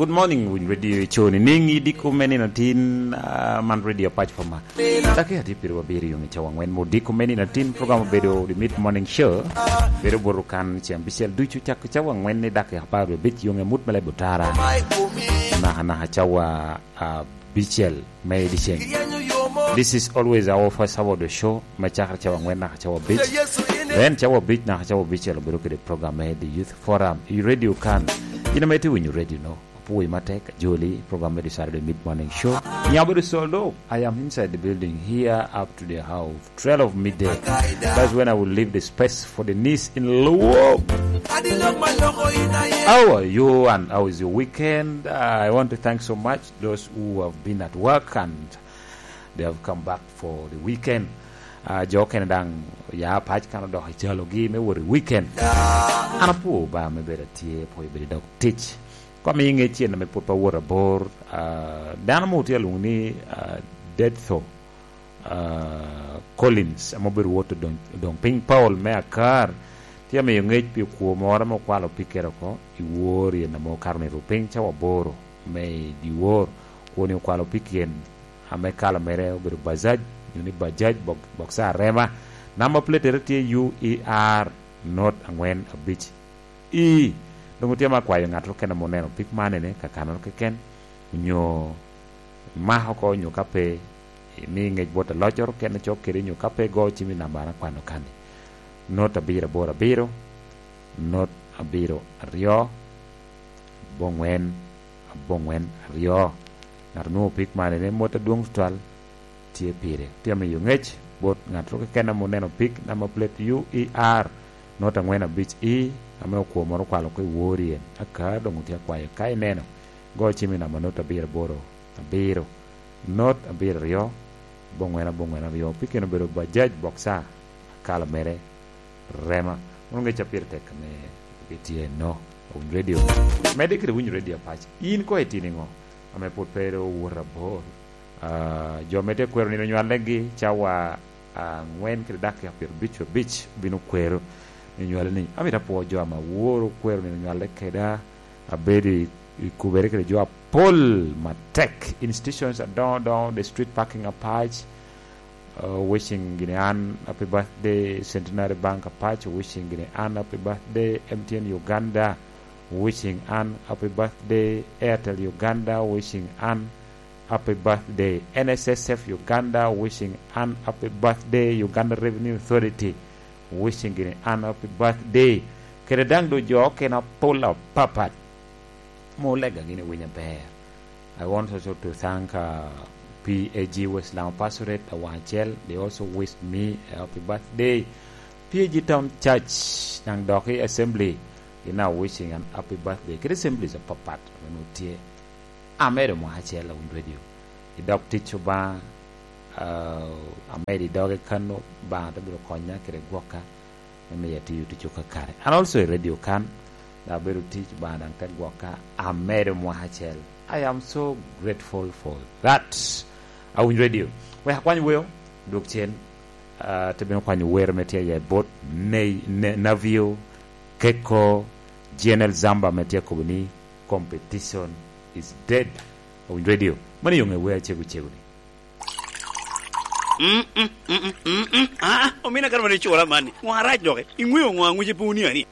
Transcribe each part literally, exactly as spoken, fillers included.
Good morning, Winy Radio Show. Nining i diko me nino tin, ah, man Radio Pac Pama. Daki atye piri wabiri yung i cawa angwen mo diko me nino tin, program obedo The Mid Morning Show. Bedo bot kan ceng bicel ducu cak i cawa angwen ni daki apar wiye abic yung i mut me lebo tara. Naka naka cawa, ah, bicel me diceng. This is always our first hour of the show. Me cakere cawa angwen naka cawa abic. Then cawa abic naka cawa bicel obedo kede program me The Youth Forum. I radio kan. In ame itye winyo radio no. Apwoyi matek, Joli, program me the Saturday Mid Morning Show. Nyabo the Soldo, I am inside the building here up to the hour of twelve midday. That's when I will leave the space for the niece in Luo. How are you and how is your weekend? Uh, I want to thank so much those who have been at work and they have come back for the weekend. Uh, jo kene daŋ ya pac kan odok i calogi me wot i weekend. An apwo ba me bedo atye, apwo bedo i dog tic. Kom i ŋe cen ame pwod pa wot abor, ah, dano mo tye alwoŋo ni, ah, Detho, ah, Collins, ame obedo wot odoŋ, odoŋ piny Paul me Akar, tye amiyo ŋec pi kwo moro ame okwalo pikkere oko i wor yen ame okato nito piny cawa aboro me i dyewor. Kwoni okwalo pikki en ame kala mere obedo Bajaj, nyo ni Bajaj bok-, boksa arema. Namba platere tye U E R not angwen abic. I, doŋ otye ma akwayo ŋat okene ame oneno pik man ene, ka kanoro keken, onyo mako oko, onyo ka pe, imi ŋec bot aloc oro kene cok kede, onyo ka pe go cim i namba an akwano kani. Not abiro aboro abiro, not abiro aryo, aboŋwen, aboŋwen aryo. Ŋat onwoŋo pik man ene mot adwoŋ tutwal, tye pire. Tye amiyo ŋec bot ŋat ru keken ame oneno pik namba plate U E R not angwen abic E, ame okwo moro okwalo oko i wor yen. Aka doŋ otye akwayo, ka ineno, go cim i namba not abiro aboro abiro, not abiro aryo, aboŋwen aboŋwen aryo. Pik en obedo Bajaj Boxer, kala mere rema. Mono ŋec a pire tek ame gitye no, owiny radio. Medde kede winyo radio apac. In koŋ itino iŋo ame pwod pe owot abor? Ah, jo me tye kwero nino nywallegi cawa angwen kede dakika pyerabic abic obino kwero nino nywale ni, "Amito apwo jo ame aworo kwero nino nywale keda, abedo i, i kubere kede jo apol matek, institutions adoŋo doŋo, the street parking apac." Uh, wishing gini an happy birthday, Centenary Bank apac, wishing gini an happy birthday, M T N Uganda, wishing an happy birthday, Airtel Uganda, wishing an happy birthday, N S S F Uganda, wishing an happy birthday, Uganda Revenue Authority, wishing gini an happy birthday. Kede daŋ do jo okene apol apapat. Mo lega gini winyo aber. I want also to thank, uh, P A G West Lango Pastorate, Awaŋ Acel. They also wished me a happy birthday. P A G Town Church, naŋ dok i Assembly, gin a wishing an happy birthday. Kede assemblies apapat, ame nwoŋo tye. Amedo mwaka acel, Awiny Radio. I dog tic Obaŋa, uh, amedo i doge kano, Obaŋa te bino konya kede gwokka. Me miya tiyo tic okakare. An also i radio kan, dok abedo tic, Obaŋa daŋ te gwokka, amedo mwaka acel. I am so grateful for that. Awiny Radio. Wek akwany weo, dwok cen, ah, te bino kwanyo wer me tye i bot ne-, ne-, Navio, Keko, G N L Zamba me tye kobo ni, "Competition is dead." Awiny Radio. Mano yo ŋe wer acego cego ni. Mm, mm, mm, mm, mm, mm. Ah, ah, omina kara mani cura mani. Ŋo arac doki? Iŋweo ŋo aŋuce pe onia ni?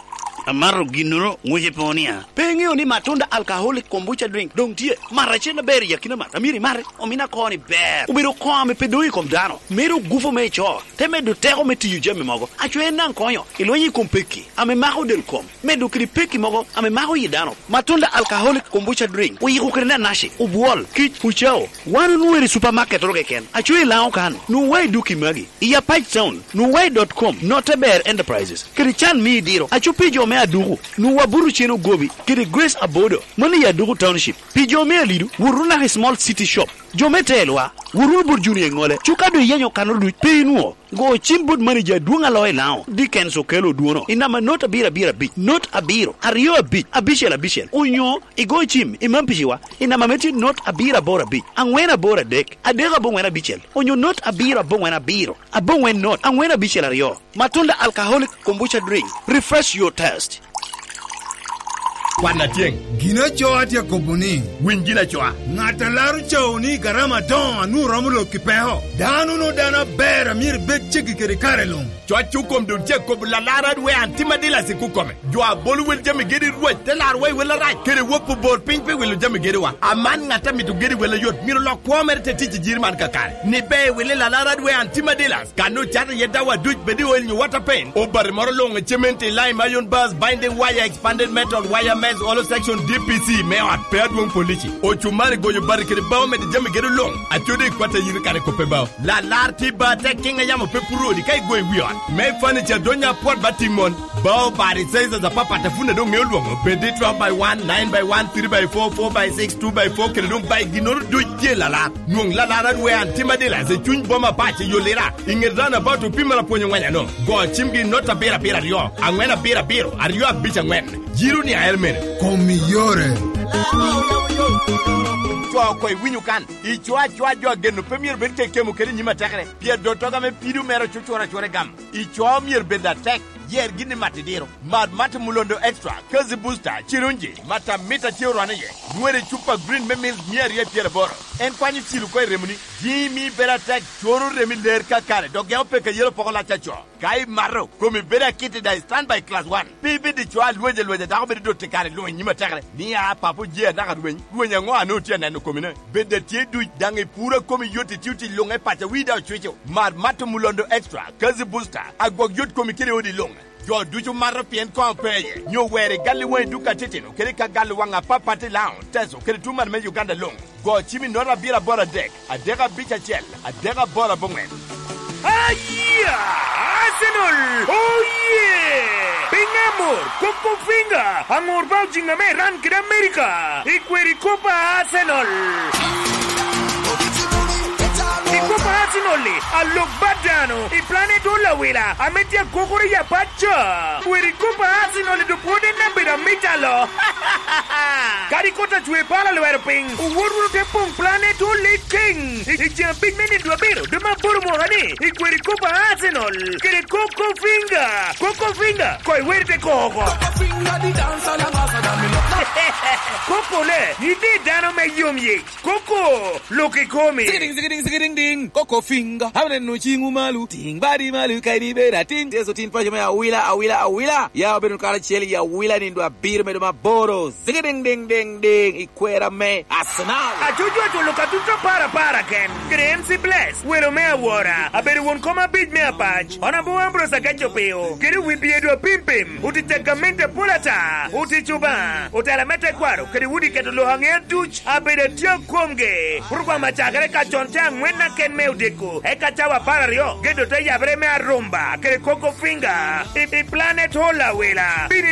Amato ginnoro ŋuce pe onia. Pe iŋeo ni Matunda Alcoholic Kombucha Drink doŋ tye? Mat acel aber i akina mat. Amiro imate. Omina koni ber. Obedo koŋ ame pe doŋ i kom dano. Mero gupo me ico. Te medo teko me tiyo jami mogo. Aco en naŋ konyo. Ilwenyo i kom pekki ame mako del kom. Medo kede pekki mogo ame mako yi dano. Matunda Alcoholic Kombucha Drink. Oyiko kede nanaci, obwol, kic, ocao. Wan onwoŋo i supermarket oro keken. Aco i Lango kan. Nwoŋo wa i duki magi. I Apac Town. Nwoŋo wa i dot com, Noteber Enterprises. Kede can me idiro. Aco pi jo me Aduku. Nwoŋo wa buto cen ogobi. Kede Grace Abodo. Mano i Aduku Township. Pi jo me Alidu, wot wunu naka i Small City Shop. Jo me Telwa, wot wunu bot Junior Iŋole. Cuka doŋ iyenyo kanoro duc, pe inwoŋo. Go cim bot manager adwoŋ a loo i Lango, Dickens Okello Odwono, i namba not abiro abiro abic, not abiro, aryo abic, abicel abicel, onyo igo cim i Mampiciwa, i namba me tye not abiro aboro abic, aŋwen aboro adek, adek aboŋwen abicel, onyo not abiro aboŋwen abiro, aboŋwen not, aŋwen abicel aryo. Matunda Alcoholic Kombucha Drink, refresh your taste. Kwan atyeŋ. Gin acoa tye akobo ni, winy gin acoa. Ŋat a laro cawu ni garama adoŋo a nwoŋo romo lok i peko. Dano no dano aber a myero ibed ceggi kede kare luŋ. Coc Kukom doŋ tye akobo lalar adwe an tim adilac i Kukome. Jo a bolo wel jami gedo i Rwec te laro wa i wel arac, kede wopo bor piny pi wilo jami gedowa. Aman ŋat a mito gedo i wel ayot myero lok kwo mere te tic i jiri man kakare. Ni be i wili lalar adwe an tim adilac. Kan ocato iye dawa duc, bed i oil nyo water paint, obati moro luŋ, cement, lime, iron bars, binding wire, expanded metal, wire mesh, hollow section, D P C me ot, pe adwoŋ polici, ocumari, goyo bati kede bao, medo jami gedo luŋ, acode i kwat a yito kare koppe bao. Lalar tye ba tek kiŋ a yamo pe puro odi ka igo i wi ot. Me furniture donya apwot ba timon, bao bati sizes apapat a pwod doŋ ŋeo lwoŋo, bed i twelve by one, nine by one, three by four, four by six, two by four, kede doŋ by ginnoro duc tye lalar. Nwoŋ lalar adwe an tim adilac i cuny boma pac i Yolira, i ŋet roundabout opima lapwony oŋweny ano. Go cimgi i not abiro abiro aryo, aŋwen abiro abiro, aryo abic aŋwen. Jiro ni aer mene. Kom i yore. Co oko iwinyo kan, ico acoa jo ageno pe myero bed kekemo kede nyim atekere, pien dottoga me pido mere ocucworo acwora i gam. Ico myero bed atek, yer gin i mat idiro. Mad Mate Mulondo Extra, Kazi Booster, Cirunji, Matamita tye orwane iye. Nywere cupa green me mil mia aryo i pyeraboro. En kwanyo cilo oko i remoni. Jimi bedo atek, coro remi ler kakare, dok geko peko ayelo poko lac aco. Ka imato, komi bedo akit i daŋ i stand by class one. Pe ibed i co alwec alwec a dako bedo dot i kare luŋ i nyim atekere. Ni a papo je anaka rweny, rweny aŋo a nwoŋo tye aneno komine? Bed atye duc, daŋ ipuro a komi yot, itio tic luŋ i paco, wi daŋ ocwico. Mar Mato Mulondo Extra, Kazi Booster, agwok yot komi kede odi luŋ. Jo ducu mato pien koŋ pe iye, nyo wer i gal i waŋi duka titino, kede ka gal i waŋ apapat i Laŋo, Teso, kede tuŋ malo me Uganda luŋ. Go cim i note abiro aboro adek, adek abic acel, adek aboro aboŋwen. Aya! Arsenal! Oh yeah! Piny amor, Coco Finger, aŋor ba ojiŋ ame Iran kede America, i kweri Copa Arsenal. I Copa Arsenal-li, alok bat dano, i planet Olawila, ame tye akokoro i apac ca. Kweri Copa Arsenal-li dok pwod en abedo amita lo. Kadi kot a cwe pala lwero piny, owot wunu te poŋ Planet Olid King. I, i ceng abic me nino abiro, dwe me aboro mwaka ni, i kweri Copa Arsenal, kede Coco Finger. Coco Finger, koi weri te koko. Coco le, ni di dano me yom yic. Coco, lok i komi. Zigidiŋ, zigidiŋ, zigidiŋ, diŋ. Coco Finger, aneno ciŋwu malo. Tiŋ badi malo, ka in ibedo atin. Yecu tin paco me awila, awila, awila. Ya obedo karacel i awila nino abiro medo maboro. Zigi diŋ, diŋ, diŋ, diŋ, i kwera me Arsenal. Acucu aculo ka tut apar apar aken. Kede M C Bless, welo me awora, abedo won kom abic me apac. Honorable Ambrose Agaco Peo, kede wi byedo apimpim, otic a gamente apol ata, otic Obaŋa, otela me tekwaro, kede udi keto lok aŋea duc, abedo atye komgi. Program acakere ka con te aŋwen aken me odiko, eka cawa apar aryo, gedo te yabere me arumba, kede Coco Finger, i, i Planet Hall Awila. Bino